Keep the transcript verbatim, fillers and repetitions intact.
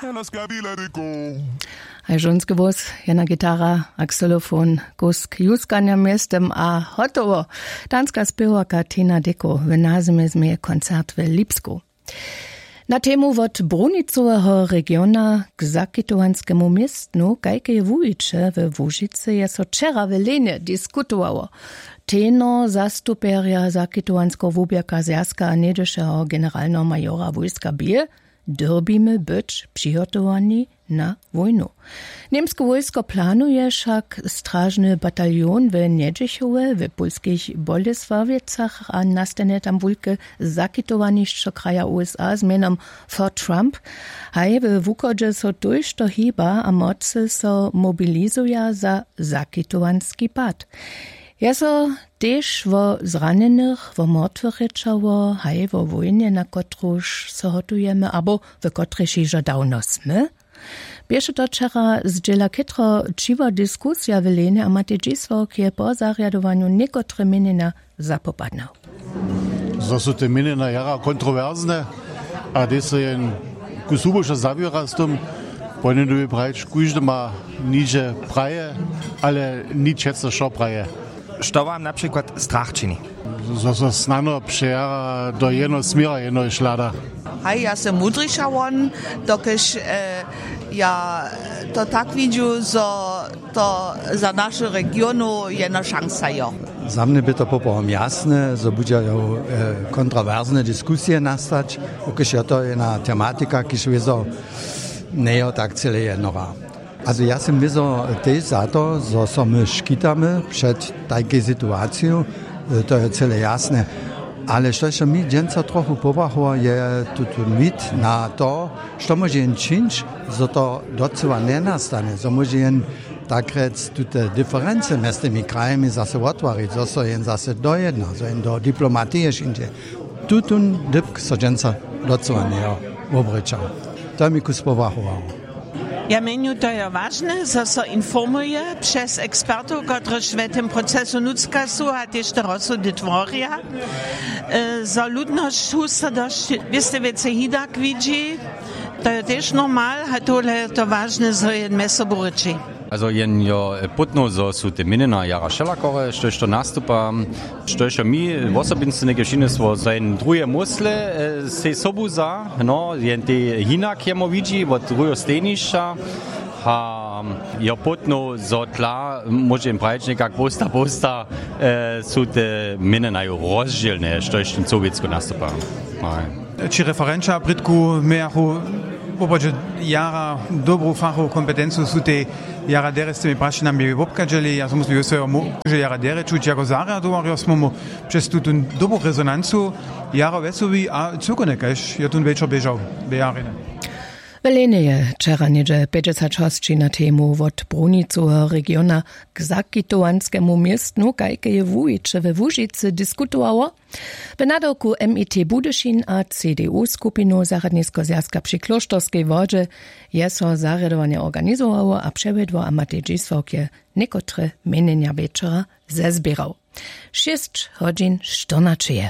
Jana skabila diko. Haj žonske włos, jedna gitara, akselofon, kusk juskanja mjestem a hotowo. Danska spěwarka Tina Deko w nazymje změje koncert w Lipsku. Na temu wot brunicoweho regiona k zakitowanskemu městnu, kajke je wuwiće we Łužicy, je so wčera w Lenje diskutowało. Tenor zastupjerja zakitowanskeho wuběrka zwjazka a něhdyšeho generalneho majora wójska bě: Dyrbimy być přihotowani na wójnu. Němske wójsko planuje wšak stražny bataljon w Njedźichowje, w pólskich Bolesławjecach a nastanje tam wulke zakitowanišćo kraja U S A z mjenom Fort Trump. Haj we wuchodźe so tójšto hiba a mocy so mobilizuja za zakitowanski pad. Je so tež wo zranjenych, wo mortwych rěčało, haj wo wójnje, na kotruž so hotujemy abo w kotrejž hižo dawno smy. Běše to wčera zdźěla chětro ćiwa diskusija w Lenje a Matej Dźisławk je po zarjadowanju někotre měnjenja zapopadnył. Zo su te měnjenja jara kontrowersne a hdyž so jen ku subuša zawěra z tym, powinjenu by prajić, kóždy ma niže praje, ale nic přeco wšo praje. Što wam na přikład strach čini? Zo so snano přejara do jednoho směra, jednoho šlada. Haj, ja sym mudriša won, dokelž e, ja to tak widźu, zo to za našu regionu jedna šansa jo. Za mnje by to poprawom jasne, zo budźa jo e, kontrowersne diskusije nastać, dokelž jo to jedna tematika, kiž wězo njejo tak cyle jednora. Also ja sym wězo tež za to, zo so my škitamy před tajkej situaciju, e, to je cyle jasne. Ale štož so mi dźensa trochu pobrachowało, je tutón wid na to, što móže jen čińć, zo to docyła njenastanje, zo móže jen tak rjec tute diferency mjez tymi krajami zase wottwarić, zo so jen zase dojedna, zo jen do diplomatije přińdźe. Tutón dypk so dźensa docyła njejo wobrěčał. To je mi kus pobrachowało. Ja měnju, to je wažne, zo so informuje přez ekspertow, kotryž w tym procesu nutřka su a tež te rozsudy tworja, e, zo ludnosć husto dosć wěste wěcej hidak widźi. To je tež normal, a tohle je to wažne, zo je mjez sobu rěči. Also jen jo, e, pótno, zo su te měnjena jara wšelakore, štož to nastupa, štož jo mi wosobinsce něke přinjesło, zo jen druhe mósle, e, sej sobu za, no, jen tej hinak jemu widźi wot druheho stejnišća. A jo pótno, zo tla, móže jen prajić někak posta posta, e, su te měnjena jo rozdźělne, štož ten sowjetsko nastupa. Haj. Ći referenća prědku mějachu woprawdźe jara dobru fachowu kompetencu, su tej jara derje z tymi prašenjami wobchadźeli. Ja so muslim jo swojemu, że jara derje čuć jako zarjadowarjo smo mu přez tutón dobru rezonancu jara wjesołi a cyłkowne, kaž je tón wječor běžał w jarjenje. W Lenje je wčera něhdźe pjećdźesat hosći na temu wot brunicoweho regiona k zakitowanskemu městnu, kajke je wuwiće we Łužicy, diskutowało. W nadawku M I T Budyšin a C D U skupinu Zarjadniskeho zwjazka při Klóšterskej Wodźe je so zarjadowanje organizowało a přewjedło a Matej Dźisławk je někotre měnjenja wječora zezběrał. Šěsć hodźin štyrnaće je.